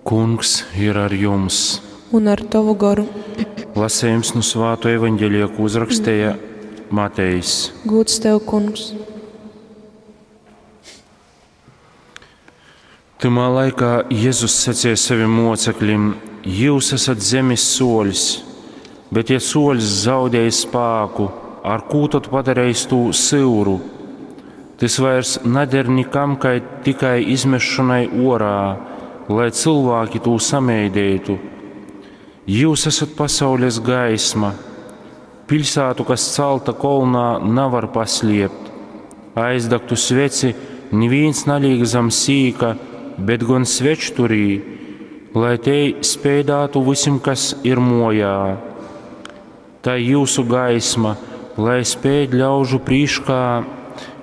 Kungs ir ar jums! Un ar tovu goru. Lasējums nu svāto evaņģelija, ko uzrakstēja Matejs. Gūds tev, kungs! Tymā laikā Jezus sacīja saviem mocekļiem: Jūs esat zemes soļs, bet ja soļs zaudēj spāku, ar kū tad padarīs tū syuru? Tys vairs nader nikam, kai tikai izmešanai orā, lai cilvēki tū sameidētu. Jūs esat pasaules gaisma. Pilsētu, kas celta kolnā, nevar paslēpt. Aizdegtu sveci neviens naliek zem sīka, bet gan svečturī, lai te spēdātu visiem, kas ir mojā. Tā jūsu gaisma, lai spēd ļaužu prīškā,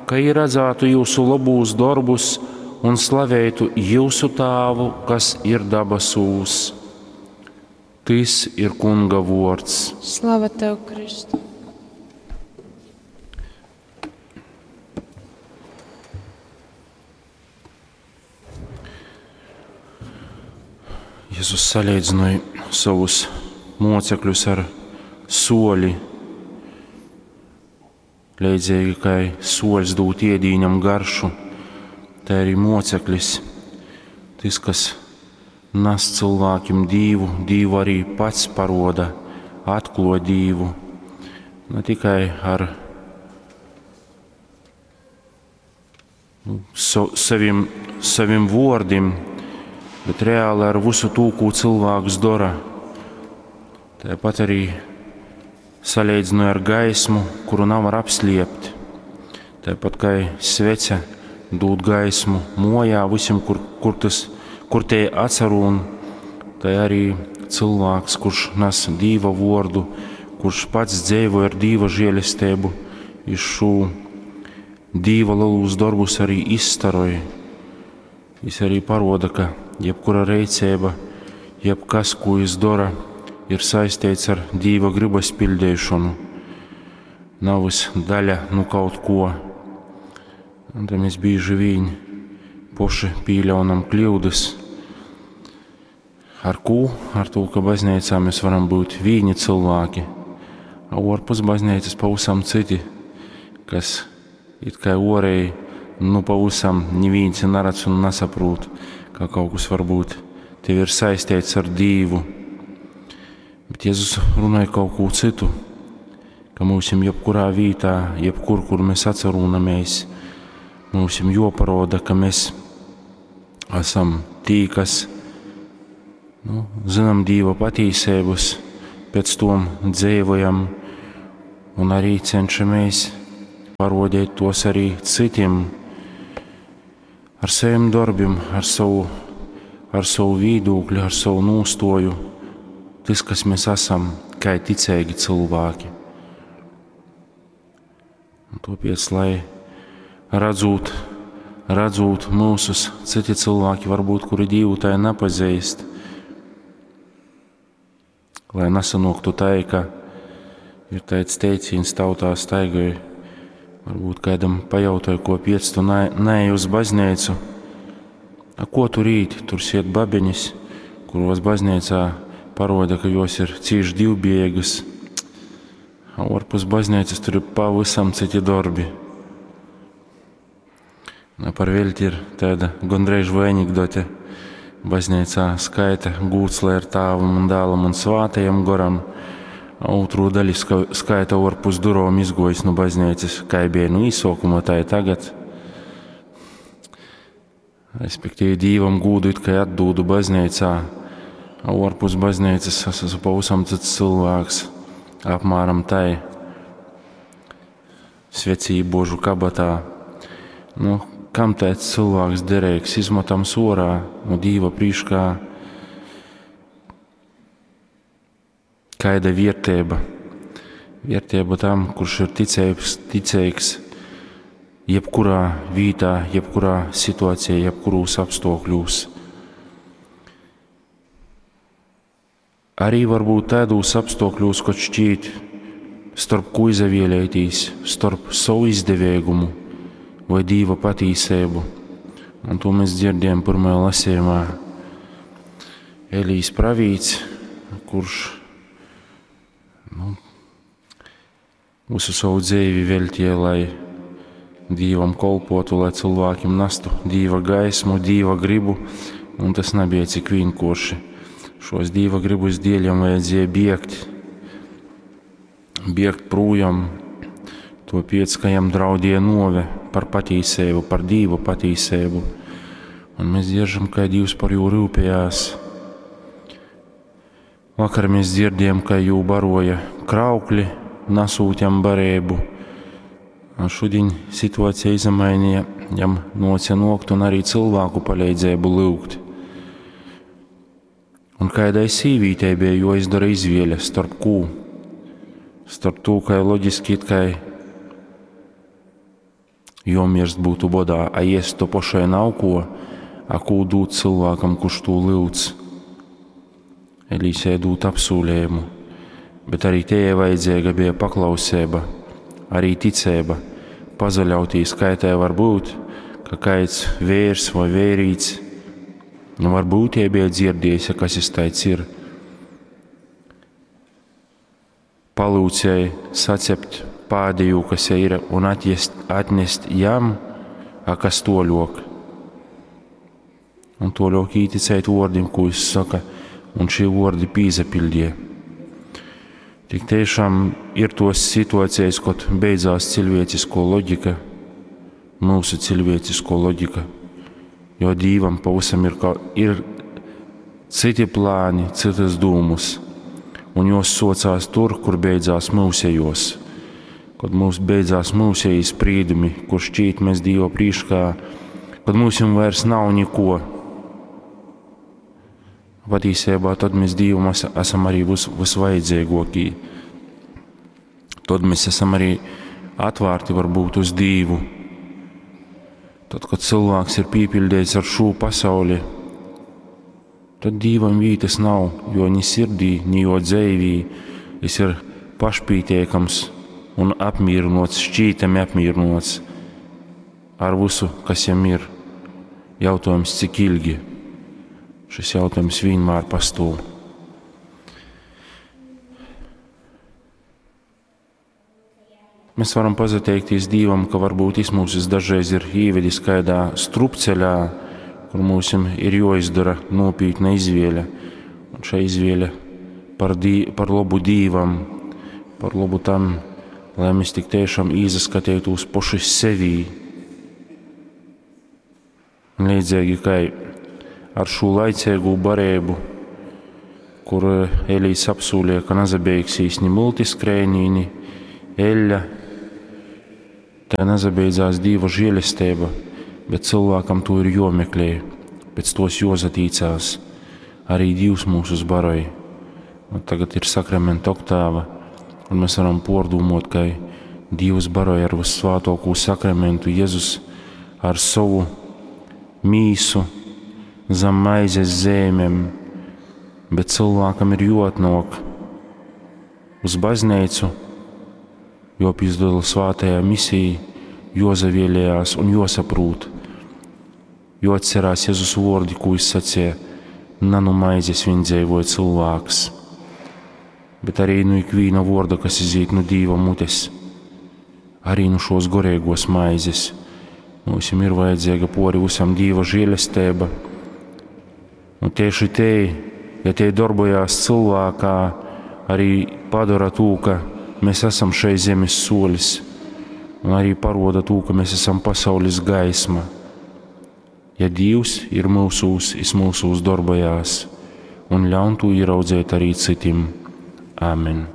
ka ir redzētu jūsu labūs darbus un slavētu jūsu tāvu, kas ir dabasūs. Tys ir Kunga vords. Slava tev, Kristu! Jēzus salīdzināja savus mocekļus ar soli. Leidzīgi kā soļs dūt iedīņam garšu, tā arī moceklis, tas, kas nes cilvēkiem dīvu, dīvu arī pats paroda, atklo dīvu, ne tikai ar nu, so, saviem, saviem vārdiem, bet reāli ar visu to, ko cilvēks dara. Tāpat arī salīdzināja ar gaismu, kuru nav var apslēpt. Tāpat kā svece dod gaismu mojā visiem, kur, kur, tas, kur te atsarūn, tā arī cilvēks, kurš nes Dīva vordu, kurš pats dzīvo ar Dīva žēlestību, iz šo Dīva lielus darbus arī izstaroja. Viņš arī paroda, ka jebkura reicība, jebkas, ko viņš dara, ir saistīts ar Dīva gribas pildīšanu. Nav vis daļa nu kaut ko. Un tad mēs bieži vien poši pieļaunam kļūdas. Ar ko? Ar to, ka baznīcā mēs varam būt vīni cilvēki, a ārpus baznīcas pavisam citi, kas it kā orēji, nu pavisam neviens neredz un nesaprot, ka kaut kas varbūt tev ir saistīts ar Dīvu. Bet Jēzus runāja kaut ko citu, ka mums jebkurā vietā, jebkur, kur mēs atcerūnamies, mums joparoda, ka mēs esam tī, kas nu, zinām Dīva patīsības, pēc tom dzīvojam un arī cenšamies parodīt tos arī citiem ar saviem darbiem, ar savu, ar savu vīdūkļu, ar savu nūstoju, tas, kas mēs esam, kā ticīgi cilvēki. Un tāpēc, lai redzot, redzot mūsus, citi cilvēki varbūt, kuri Dievu tā nepazīst, lai nesanoktu tā, ka ir tāds teiciens tautā staigāja, varbūt kādam pajautāja, ko piec tu neej uz baznīcu. A ko tur īt? Tur siet babeņas, kuros baznīcā paroda, ka jos ir cīši divbiegas. A ārpus baznīcas tur ir pavisam citi darbi. Na, par velti ir tāda gondreiž vai anekdote. Baznīcā skaita gūts, lai ir tāvam un dēlam un svātajam goram. A otru daļu skaita ārpus durvīm izgojis no baznīcas, kā bija nu īsākumā, tā ir tagad. Respektīvi, Dievam gūdu it kā atdūdu baznīcā, a ārpus baznīcas es esmu pavisam cits cilvēks, apmēram tai svecību kabatā. Nu, kam tāds cilvēks derīgs, izmetams orā no Dīva prīškā? Kaida vērtība? Vērtība tam, kurš ir ticīgs, ticīgs jebkurā vietā, jebkurā situācijā, jebkurūs apstākļos. Arī varbūt tādos apstākļos, kad šķiet, starp ko izavēlētīs, starp savu izdevīgumu vai Dīva patīsību. Un to mēs dzirdējam pirmajā lasījumā. Elijs pravīts, kurš nu, visu savu dzeivi veltīja, lai Dīvam kolpotu, lai cilvēkiem nastu Dīva gaismu, Dīva gribu, un tas nebija cik vienkārši. Šos Dīva gribus dēļ jam vajadzēja biegt, biegt projām, to pēc, ka jam draudēja nove par patīsību, par Dīva patīsību. Un mēs dzieržam, kā Dievs par jū rūpējās. Vakar mēs dzirdējām, ka jū baroja kraukļi, nasūt jam barību. Un šodien situācija izmainīja, jam noca nokt un arī cilvēku palīdzību lūgt. Un kādai sīvītei bija jāizdara izvēle starp kū? Starp to, ka loģiski it kā jomirst būtu bodā, a ēst to pašai nav ko, a kū dūt cilvēkam, kurš to lūdz. Elīsē dūt apsūlējumu, bet arī te vajadzīga bija paklausība, arī ticība, pazaļautīs, kā tai var būt, ka kāds vērs vai vērīts, nu varbūt tie bija dzirdējis, kas es taids ir. Palūcēja sacept pādēju, kas ir, un atjest, atnest jam, a kas toļok. Un toļok īticēt vārdim, ko viņš saka, un šie vārdi pīzapildīja. Tik tiešām ir tos situācijas, kad beidzās cilvēcisko loģika, mūsu cilvēcisko loģika, jo Dīvam pavisam ir, ir citi plāni, citas dūmus, un jos socās tur, kur beidzās mūsējos. Kad mums beidzās mūsēji sprīdumi, kur šķīt mēs Dīva prīškā, kad mums vairs nav neko. Patiesībā tad mēs Dievam esam arī vis, visvajadzīgākie. Tad mēs esam arī atvērti varbūt uz Dievu. Tad, kad cilvēks ir piepildīts ar šo pasauli, tad Dievam vītas nav, jo ni sirdī, ni jo dzīvī es ir pašpītiekams un apmierinots, šķītami apmierinots ar visu, kas jam ir. Jautājums, cik ilgi? Šis jautājums vienmēr pastāv. Mēs varam pateikties Dievam, ka varbūt viņš mūs dažreiz ir ievedis kādā strupceļā, kur mums ir jāizdara nopietna izvēle. Un šī izvēle par, dī, par labu Dievam, par labu tam, lai mēs tik tiešām izaskatītos paši sevī. Un līdzīgi kā ar šo laicīgo barību, kur Elīs apsūlīja, ka nazabeigsies ni multiskrēnī, ni eļļa, tā nazabeidzās Dieva žēlestība, bet cilvēkam to ir jomeklē, pēc tos jozatīcās. Arī Dievs mūs baroj. Un tagad ir sakramenta oktāva, un mēs varam pordūmot, ka Dievs baroj ar vissvētāko sakramentu Jēzus ar savu mīsu zem maizes zēmēm, bet cilvēkam ir jāatnāk uz baznīcu, jāpizdala svētajā misijā, jozavielējās un josaprūt, jo atcerās Jēzus vārdi, ko viņš sacīja, na nu maizes vien dzīvoja cilvēks, bet arī nu ikviena vārda, kas iziet no Dieva mutes, arī nu šos gorīgos maizes. Mums ir vajadzīga pori visam Dieva žēlestība. Un tieši te, ja te darbojās cilvēkā, arī padara to, ka mēs esam šai zemes solis, un arī paroda to, ka mēs esam pasaules gaisma. Ja Dievs ir mūsūs, es mūsūs darbojās, un ļaun to ieraudzēt arī citiem. Āmen.